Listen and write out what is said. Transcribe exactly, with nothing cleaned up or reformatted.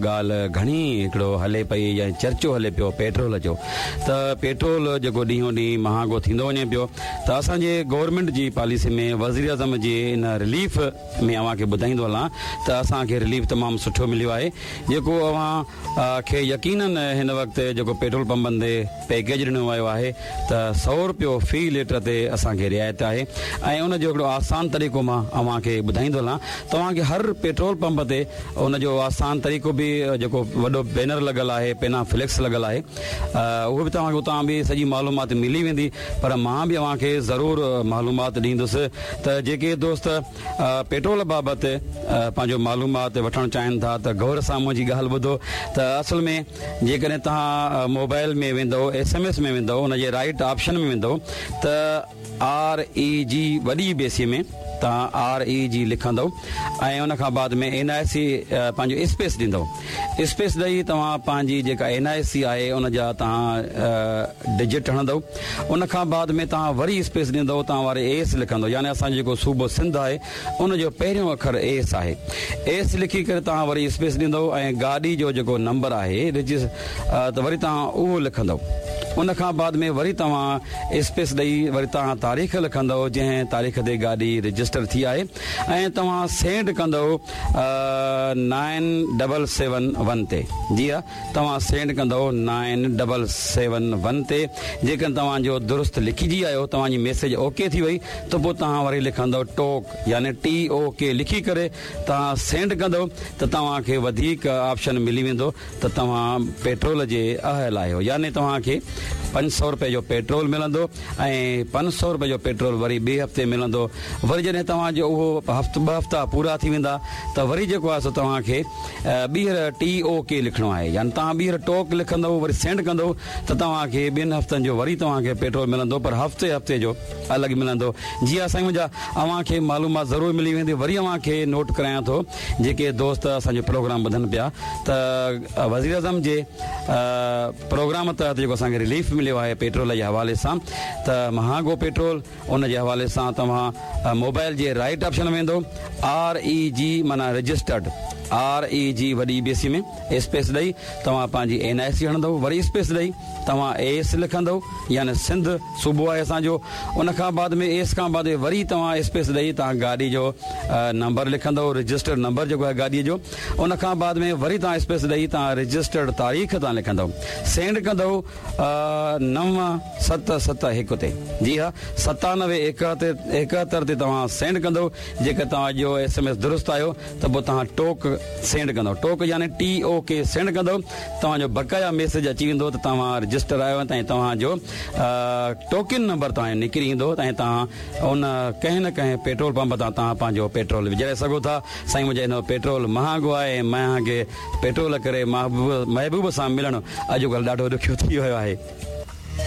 ڳالهه گهڻي هڪڙو هلي پئي يا چرچو هلي پيو پيٽرول جو، ته پيٽرول جيڪو ڏينهون ڏينهن مهانگو ٿيندو وڃي پيو، ته اسان جي گورنمينٽ جي پاليسي ۾ وزيراعظم جي ان رليف ۾ اوهان کي ٻڌائيندو هلان ته اسان کي رليف تمام سٺو مليو آهي، جيڪو اوهان کي يقينن هن وقت جيڪو پيٽرول پمپن تي پيڪيج ڏنو ويو آهي ته سؤ روپيو في ليٽر تي اسان کي رعايت آهي. ۽ ان جو هڪڙو آسان طريقو مان اوهان کي ٻڌائيندو هلان، توهان کي هر پيٽرول پمپ تي ان جو آسان طريقو به جيڪو وڏو بينر لڳل آهي، پينا فليڪس لڳل آهي، اهو به توهان کي اتان به سڄي معلومات ملي ويندي. پر مان به اوهان کي ضرور معلومات ڏيندس ته جيڪي دوست پيٽرول بابت پنهنجو معلومات وٺڻ چاهين ٿا ته غور سان منهنجي ڳالهه ٻڌو. ته اصل ۾ جيڪڏهن توهان موبائل ۾ ويندو، ايس ايم ايس ۾ ويندو، ان جي رائٽ آپشن ۾ ويندو ته آر اي جي وڏي بيسي ۾ توهان آر اي جي لکندو ۽ ان کان بعد ۾ اين آء سي پنهنجو اسپيس ڏيندو. اسپيس ڏئي توهان پنهنجي جيڪا اين آء سي آهي ان جا توهان ڊجٽ هڻندو. ان کان بعد ۾ توهان وري اسپيس ڏيندو، توهان واري ايس لکندو، يعني اسان جو جيڪو صوبو سنڌ آهي ان جو پهريون اکر ايس آهي. ايس لکي ڪري توهان وري اسپيس ڏيندو ۽ گاڏي جو جيڪو نمبر آهي رجس ته وري توهان اهو لکندو. ان کان بعد ۾ وري توهان اسپيس ڏئي وري توهان تاريخ لکندو جنهن تاريخ تي گاڏي رجسٽر ٿي آهي، ۽ توهان سينڊ ڪندو نائن ڊبل سيون ون تي. جي ها، توهان سينڊ ڪندو نائن ڊبل سيون ون تي. جيڪڏهن توهان جو درست لکجي آيو، توهان جي ميسيج اوڪي ٿي وئي، ته پوء توهان وري لکندو ٽوڪ، يعني ٽي او ڪي لکي ڪري توهان سينڊ ڪندو ته توهان کي وڌيڪ آپشن ملي ويندو ته توهان پيٽرول جي اهل آهيو، يعني توهان کي پنج سؤ روپئي جو پيٽرول ملندو ۽ پنج سؤ روپئي جو پيٽرول وري ٻئي هفتي ملندو. وري جڏهن توهان جو اهو هفت ٻه هفتا پورا ٿي ويندا ته وري جيڪو آهي سو توهان کي ٻيهر ٽي او ڪي لکڻو آهي، يعني توهان ٻيهر ٽوڪ لکندو وري سينڊ ڪندو ته توهان کي ٻن هفتن جو وري توهان کي پيٽرول ملندو، پر هفتي هفتي جو الڳ ملندو. جي ها سائين منهنجا، اوهان کي معلومات ضرور ملي ويندي. وري اوهان کي نوٽ ڪرايان ٿو، جيڪي دوست اسان جو پروگرام ٻڌن پيا ته وزيراعظم جي پروگرام تحت جيڪو اسان کي رليف مليو آهي پيٽرول جي حوالي سان، ته مهانگو پيٽرول ان جي حوالي سان توهان موبائل جي رائٽ آپشن ۾ ويندو، آر اي جي معنيٰ رجسٽرڊ، آر اي جي وڏي بي سي ۾ اسپيس ڏئي توهان پنهنجي اين آء سي هڻندو، وري اسپيس ڏئي توهان ايس لکندو، يعني سنڌ صوبو آهي اسان جو. ان کان بعد ۾ ايس کان بعد وري توهان اسپيس ڏئي توهان گاڏي جو نمبر لکندو، رجسٽرڊ نمبر جيڪو آهي گاڏي جو. ان کان بعد ۾ وري توهان اسپيس ڏئي توهان رجسٽرڊ تاريخ توهان لکندو، سينڊ ڪندو نو ست ست هڪ تي. جي ها، ستانوي ايڪهتر تي توهان سينڊ ڪندو. جيڪر توهان جو ايس ايم ايس درست آيو ته پوء توهان ٽوڪ سينڊ ڪندو، ٽوڪ يعني ٽي او ڪي سينڊ ڪندو، توهان جو بقايا ميسيج اچي ويندو ته توهان رجسٽر آهيو ۽ توهان جو ٽوڪن نمبر توهان جو نڪري ايندو ۽ توهان ان ڪنهن نه ڪنهن پيٽرول پمپ تان توهان پنهنجو پيٽرول وجهرائي سگهو ٿا. سائين منهنجا، هن پيٽرول مهانگو آهي ۽ مهانگي پيٽرول ڪري محبوب محبوب سان ملڻ اڄڪلهه ڏاڍو ڏکيو ٿي ويو آهي.